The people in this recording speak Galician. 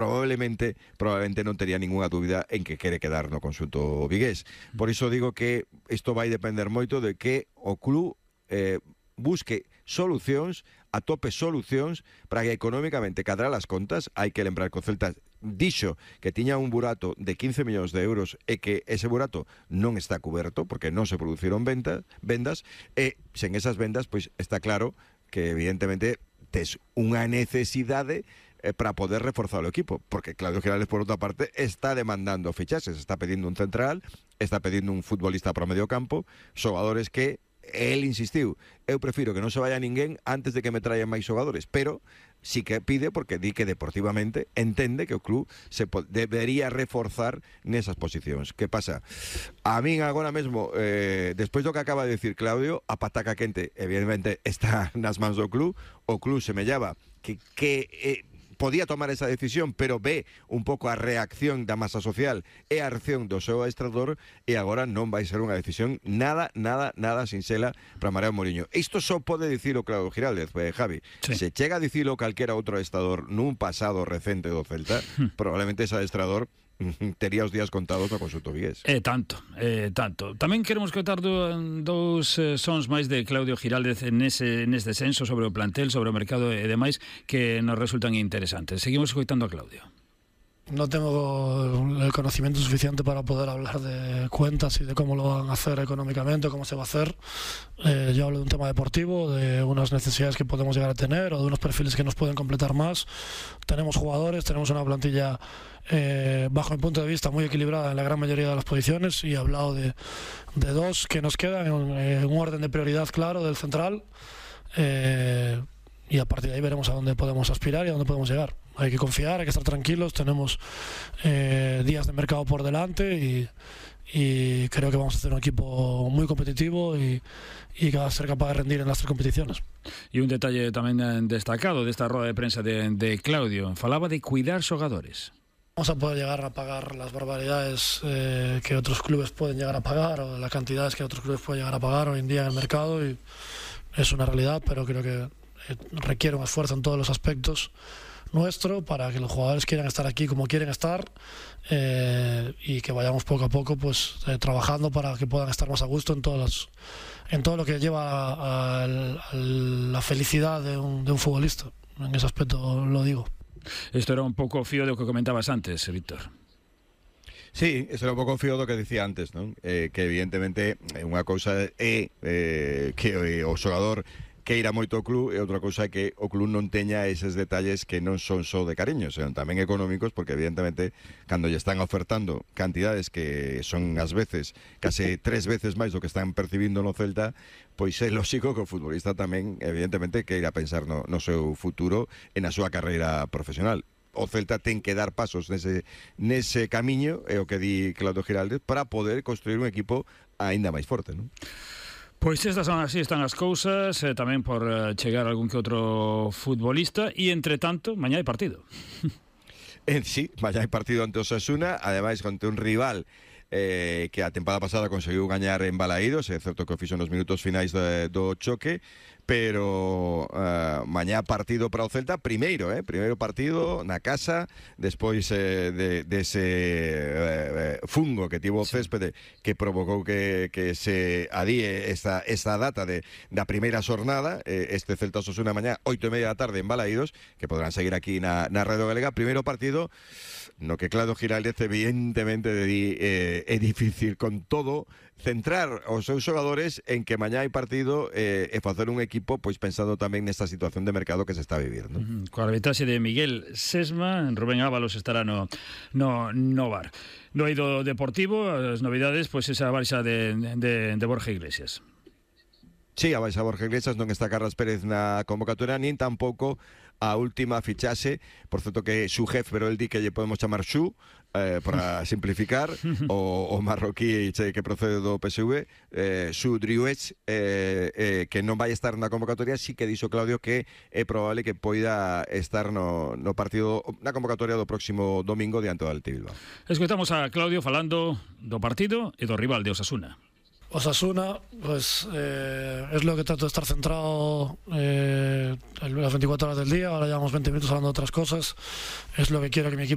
probablemente non tería ningunha dúbida en que quere quedar no conxunto vigués. Por iso digo que isto vai depender moito de que o club busque solucións, atope solucións para que económicamente cadrar as contas. Hai que lembrar que o Celta dixo que tiña un burato de 15 millóns de euros e que ese burato non está cuberto porque non se produciron vendas e sen esas vendas pois está claro que evidentemente tes unha necesidade para poder reforzar o equipo, porque Claudio Giraldez por outra parte está demandando fichaxes, está pedindo un central, está pedindo un futbolista para o medio campo, xogadores que él insistiu, eu prefiro que non se vaya ninguén antes de que me traian máis xogadores, pero sí que pide porque di que deportivamente entende que o club debería reforzar nesas posicións. Que pasa? A min agora mesmo, despois do que acaba de decir Claudio, a pataca quente evidentemente está nas mans do club, o club semellaba que podía tomar esa decisión, pero ve un pouco a reacción da masa social e a reacción do seu adestrador, e agora non vai ser unha decisión nada sinxela para Mariano Mourinho. Isto só pode dicilo Claudio Giraldez, Javi. Sí. Se chega a dicilo calquera outro adestrador nun pasado recente do Celta, probablemente ese adestrador tería os días contados no conxunto vigués. Tanto. Tamén queremos contar dous sons máis de Claudio Giraldez neste senso sobre o plantel, sobre o mercado e demais que nos resultan interesantes. Seguimos escoitando a Claudio. No tengo el conocimiento suficiente para poder hablar de cuentas y de cómo lo van a hacer económicamente, cómo se va a hacer. Yo hablo de un tema deportivo, de unas necesidades que podemos llegar a tener o de unos perfiles que nos pueden completar más. Tenemos jugadores, tenemos una plantilla, bajo mi punto de vista, muy equilibrada en la gran mayoría de las posiciones, y he hablado de dos que nos quedan en un orden de prioridad claro del central. Y a partir de ahí veremos a dónde podemos aspirar y a dónde podemos llegar. Hay que confiar, hay que estar tranquilos, tenemos días de mercado por delante y creo que vamos a hacer un equipo muy competitivo y que va a ser capaz de rendir en las tres competiciones. Y un detalle tamén destacado desta roda de prensa de Claudio, falaba de cuidar xogadores. Vamos a poder llegar a pagar las barbaridades que otros clubes pueden llegar a pagar, o las cantidades que otros clubes pueden llegar a pagar hoy en día en el mercado, y es una realidad, pero creo que requiere un esfuerzo en todos los aspectos nuestro para que los jugadores quieran estar aquí como quieren estar, y que vayamos poco a poco pues trabajando para que puedan estar más a gusto en todo lo que lleva a la felicidad de un futbolista. En ese aspecto lo digo. Isto era un pouco fío do que comentabas antes, Víctor. Sí, eso era un pouco fío do que dicía antes, ¿no? Que evidentemente unha cousa é que o xogador queira moito o club, e outra cousa é que o club non teña eses detalles que non son só de cariño, senón tamén económicos, porque evidentemente cando lle están ofertando cantidades que son ás veces case 3 veces máis do que están percibindo no Celta, pois é lógico que o futbolista tamén evidentemente queira pensar no seu futuro e na súa carreira profesional. O Celta ten que dar pasos nese camiño, é o que di Claudio Giraldez, para poder construir un equipo aínda máis forte, non? Pois estas son así, están as cousas, tamén por chegar algún que outro futbolista, e entre tanto, mañá hai partido. Sí, mañá hai partido ante Osasuna, ademais contra un rival que a tempada pasada conseguiu gañar en Balaídos, é certo que o fixo nos minutos finais do choque, pero mañá partido para o Celta, primeiro partido na casa, despois dese fungo que tivo o céspede que provocou que se adíe esta data da primeira xornada, este Celta Osasuna mañá 8:30 da tarde en Balaídos, que podrán seguir aquí na Radio Galega. Primeiro partido no que Claudio Giraldez evidentemente é difícil con todo centrar os seus xogadores en que mañá hai partido e facer un equipo pois pensando tamén nesta situación de mercado que se está vivindo. Coa arbitraxe de Miguel Sesma, Rubén Ábalos estará no bar. No eido deportivo, as novidades, pois esa baixa de Borja Iglesias. Sí, a baixa Borja Iglesias, non está Carlos Pérez na convocatoria, nin tampouco a última fichaxe, por certo que Xu Jef, pero el di que lle podemos chamar Xu, para simplificar, o marroquí que procede do PSV, Xu Driouech, que non vai estar na convocatoria. Sí que dixo Claudio que é probable que poida estar no partido, na convocatoria do próximo domingo diante do Athletic Bilbao. Escoitamos a Claudio falando do partido e do rival de Osasuna. Osasuna, pues es lo que trato de estar centrado las 24 horas del día. Ahora llevamos 20 minutos hablando de otras cosas. Es lo que quiero que mi equipo